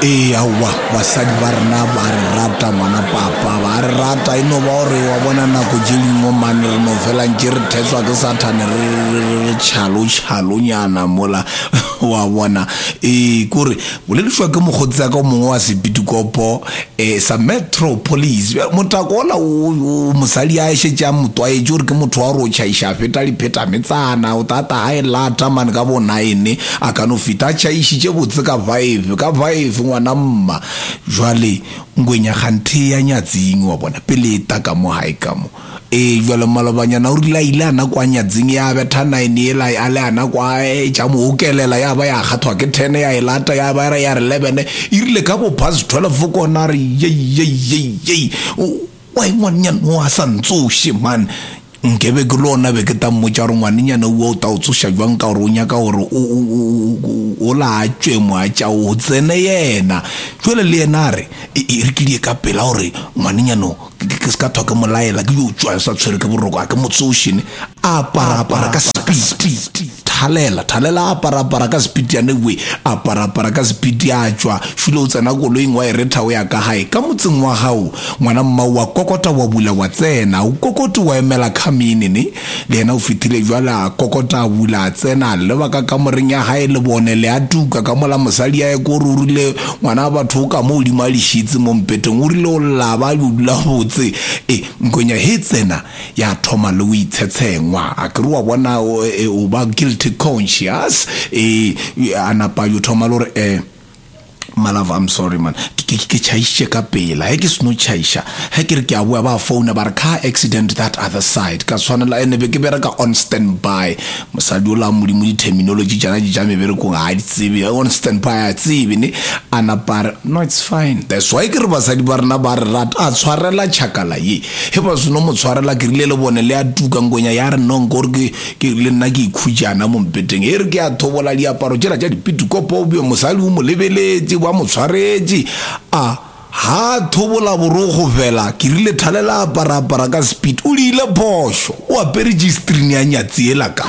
Ee, aowa, basadi ba rena ba re rata, ngwana papa, ba re rata. E no ba gore wa bona nako tše dingwe mane re no fela ntše re thetswa ke Sathane, re, re, re, re tšhalo-tšhalonyana mola, wa bona. Ee, kore boledišwa ke mokgotsi wa ka o mongwe wa sepitikopo, um sa Metro Police. Bjale motako ola o, o, mosadi a šetše a mo tlwaetše gore ke motho wa gore o tšhaiša a feta diphetametsana, o tata a e lata mane ka bo nine, a ka no feta a tšhaišitše botse ka five, ka five ngwana mma. Jwale ngwenya kganthe ya nyatsing wa bona, pele e ta ka mo gae ka mo. Ee, bjale malobanyana o rile a ile a na kwa nyatsing ya betha nine yela a le ana kwa e tša mo okelela ya ba ya kgathwa ke ten ya e lata ya ba ya re eleven e rile ka bo past twelve kona a re yei yei yei yei why ngwanenyana o a sa ntsoše man nkebe ke le ona be ke ta mmotša gore ngwanenyana ua o ta o tsoša jwang ka gore o nyaka gore o la tšwe mo a tša o tsene yena jwale le yena a re e re ke die ka pela gore ngwanenyana o Ke se ka thwa ke mo laela, ke yo tšwa sa tshwere ke boroko, a ke mo tsoše ne. A apara apara ka sepiti. Thalela, thalela a apara apara ka sepiti yane we. Apara apara ka sepiti a tšwa. Šule o tsena koloing wa e retha o ya ka gae. Ka motseng wa gago, ngwana mmao wa kokota wa bula wa tsena. O kokote wa emela khamini ne. Le yena o fetile bjale a kokota a bula a tsena a leba ka kamoreng ya gae lebone le a tuka ka mola mosadi a ekwa gore o rile ngwana wa batho o ka mo godimo a lešitse mo mpeteng o rile o lla ba yo dula botse e nkonya he tsena ya thoma le o itshetshengwa a ke re wa bona o ba guilty conscious e a napa yo thoma le gore um My love, I'm sorry man. Ke ke ke tšhaišitše ka pela. Ge ke seno tšhaiša, ge ke re ke a boa ba founa ba re car accident that other side. Ka tshwanela ene be ke bereka on stand by. Mosadi ola Modimo di-terminology tšana tše tša meberekong ga a di tsebe. On stand by a tsebe ne. A napa a re no it's fine. That's why ke re basadi ba rena ba re rata. A tshwarela tšhakala ye. Ge ba seno mo tshwarela ke rile le bone le a tuka nkonya ya re no nko gore ke Ke le nna ke ikhutšana mo mpeteng, e re ke a thobola diaparo tšela tša dipitikopo, bjo mosadi o mo lebeletše, ba mo tshwaretše. A ha thobola borokgo fela, ke rile thalela apara apara ka speed, o diile phošo, o apere G-string ya nyatsi yela ka.